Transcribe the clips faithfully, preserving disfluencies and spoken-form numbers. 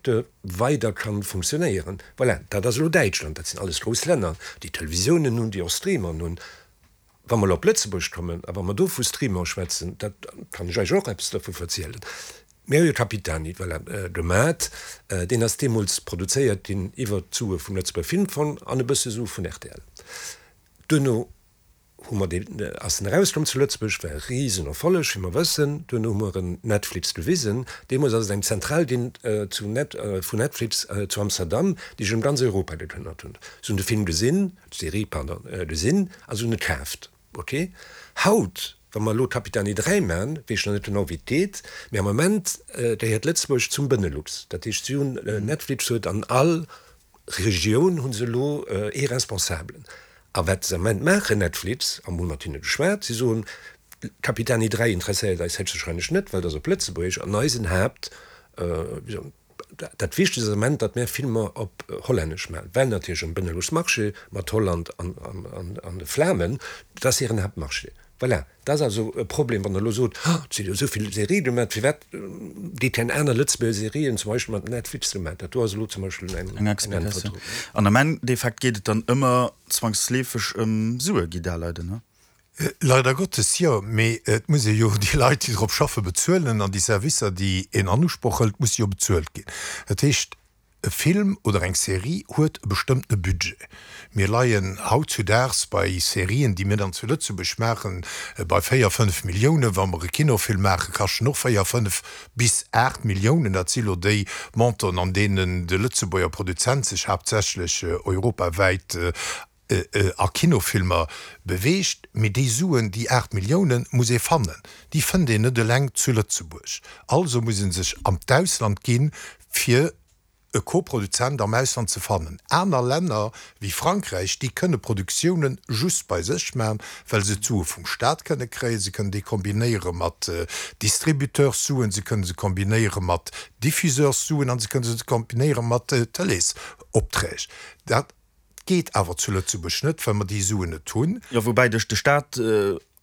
Secteur weider kann funktionéieren. Voilà, dat ass elo Däitschland, dat sinn alles grouss Länner, déi Televisiounen hunn, déi och Streameren hunn. Wa mer elo op Lëtzebuerg kommen a wa mer do vu Streamer schwätzen, dat kann ech Iech och eppes dovu verzielen. Mir hu jo Capitani, voilà, gemat, deen ass deemools produzéiert ginn iwwert d'Sue vum Lëtzebuerger Filmfong an e bësse Sue vun rtl. Duerno hu mer deen, ass en erauskomm zu Lëtzebuerg, war e Risenerfolleg, wéi mer wëssen. Duerno hu mer en Netflix gewisen. Deemools ass et eng Zentral ginn zu Net, vun Netflix zu Amsterdam, déi sech ëm ganz Europa gekëmmert hunn. Se hunn de Film gesinn, d'Serie, pardon, gesinn a se hunn e kaaft. Ok. Haut, wa mer elo Capitani dräi man, weess ech nach net genau, wéi et geet, mee am Moment gehéiert Lëtzebuerg zum Benelux. Dat heescht, si hunn, Netflix huet an all Regioun hu se elo ee Responsabelen. A wat se am Moment maachen, Netflix, a mer hu mat hinne geschwat, si soen, Capitani dräi interesséiert eis héchstwahrscheinlech net, well dat ass op Lëtzebuergesch an eisen Haapt, wéi soen, dat Wichtegst ass am Moment, datt mär Filmer op Hollännesch maachen, well natierlech am Benelux-Marché mat Holland an de Flamen, dat ass hiren Haaptmarché. Voilà, dat ass also e Problem, wann Der elo sot, oh, et si jo esou vill Serië gemaach, firwat gi keng aner Lëtzebuerger Serien zum Beispill mat Netflix gemaach? Dat do ass elo zum Beispill eng Äntwert drop. An am Endeffekt geet et dann ëmmer zwangsleefeg ëm Sue, Guy Daleiden, ne? Leider Gottes jo, mee et muss ee jo déi Leit, déi drop schaffen, bezuelen an déi Servicer, déi een an Usproch hëlt, musse jo bezuelt ginn. Dat heescht, e Film oder eng Serie huet e bestëmmtene Budget. Mir leien hautzudaags bei Serien, déi mir dann zu Lëtzebuerg maachen, bei véier, fënnf Milliounen. Wa mer e Kinofilm maachen, kascht en och véier, fënnf bis aacht Milliounen. Dat si lo déi Montanten, an deenen de Lëtzebuerger Produzent sech haaptsächlech europawäit a Kinofilmer beweegt. Mee déi Suen, déi aacht Milliounen, muss ee fannen. Déi fënnt een net eleng zu Lëtzebuerg. Also muss ee sech an d'Ausland ginn, fir e Koproduzent am Ausland ze fannen. Aner Länner wéi Frankräich, déi kënne Produktioune just bei sech maachen, well se d'Sue vum Staat kënne kréien. Se kënnen déi kombinéiere mat Distributeurs-Suen, se kënne se kombinéiere mat Diffuseurs-Suen an se kënne se kombinéiere mat Tëleesopträg. Dat geet awer zu Lëtzebuerg net, well mer déi Suen net hunn. Jo, woubäi de Staat,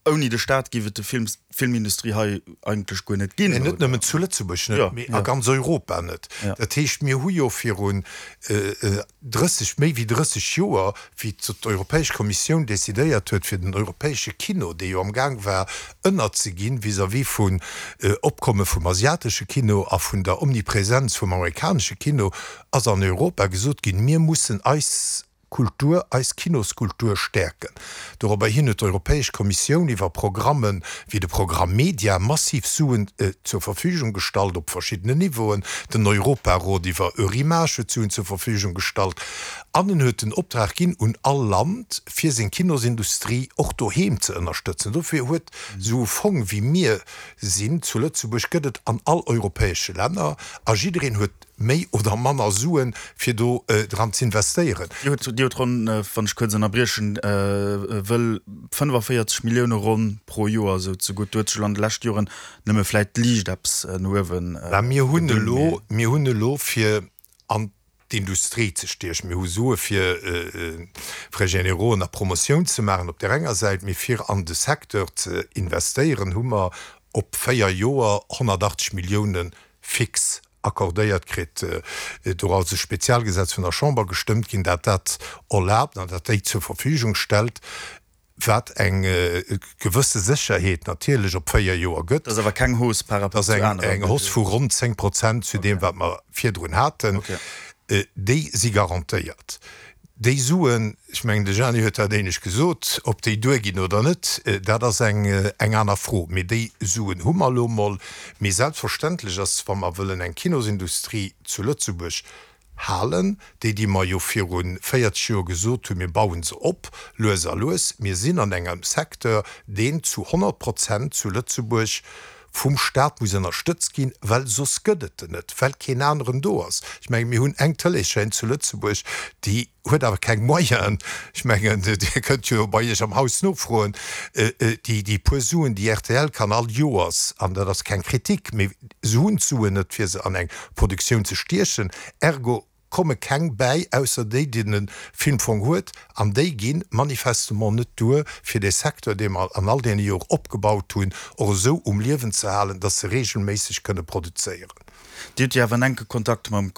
ouni de Staat géif et de Film, d'Filmindustrie hei eigentlech guer net ginn. Mä net nëmmen zu Lëtzebuerg net, mee a ganz Europa net. Dat heescht, mir hu jo virun drësseg, méi wéi drësseg Joer, wéi d'Europäesch Kommissioun decidéiert huet, fir den europäesche Kino, dee jo amgaang war ënnerzeginn vis-à-vis vun Opkomme vum asiatesche Kino a vun der Omnipresenz vum amerikanesche Kino, ass an Europa gesot ginn, mir mussen eis Kultur, eis Kinoskultur stäerken. Dorobber hin huet d'Europäesch Kommissioun iwwer Programme wéi de Programm Media massiv Suen zur Verfügung gestallt op verschiddenen Niveauen. Den Europarot iwwer Eurimages huet Suen zur Verfügung gestallt an en huet den Optrag ginn un all Land, fir seng Kinosindustrie och doheem ze ënnerstëtzen. Dofir huet esou e Fong wéi mir sinn zu Lëtzebuerg gëtt et an all europäesche Länner a jiddereen huet méi oder manner Suen, fir do dran z'investéieren. Dir hutt, Dir hutt ronn, wann ech kuerz ënnerbriechen wëll, fënnefaféierzeg Millioune ronn pro Joer esou zegutt. Do huet sech elo an de leschte Joren nëmme vläicht liicht eppes no uewen Mä mir hunn elo, mir hunn elo fir an d'Industrie ze stiechen, mir hu Sue fir Frais générauxen a Promotioun ze maachen op där enger Säit, mee fir an de Secteur ze investéieren, hu mer op véier Joer honnertachtzeg Millioune fix accordéiert kritt. Do ass e Spezialgesetz vun der Chamber gestëmmt ginn, dat dat erlaabt an dat déi zur Verfügung stellt, wat eng gewësse Sécherheet natierlech op véier Joer gëtt. Dat ass awer keng Hausse par rapport zu aneren. Dat ass eng Hausse vu ronn zéng Prozent zu deem, wat mer virdrun haten. Déi si garantéiert. Déi Suen, ech mengen, de Gianni huet dat éinescht gesot, ob déi duerginn oder net, dat ass eng aner Fro. Mee déi Suen hu mer elo emol. Mee selbstverständlech ass, wa mer wëllen eng Kinosindustrie zu Lëtzebuerg halen, déi, déi mer jo viru véierzeg Joer gesot hunn, mir baue se op, lues a lues, mir sinn an engem Secteur, deen zu honnert Prozent zu Lëtzebuerg vum Staat muss ënnerstëtzt ginn, well soss gëtt et en net, well keen aneren do ass. Ech mengen, mir hunn eng Tëleeschaîne zu Lëtzebuerg, déi huet awer keng Moyenen. Ech mengen, Dir kënnt jo bei Iech am Haus nofroen, déi, déi puer Suen, déi rtl kann all Joers, an dat ass keng Kritik, mee se hunn d'Suen net, fir se an eng Produktioun ze stiechen. Ergo komme keng bäi, ausser déi, déi de Filmfong huet, an déi gi manifestement net duer, fir dee Secteur, dee mer an all deene Jore opgebaut hunn, och esou um Liewen ze halen, dass se regelméisseg kënne produzéieren. Dir hutt jo awer en enke Kontakt mam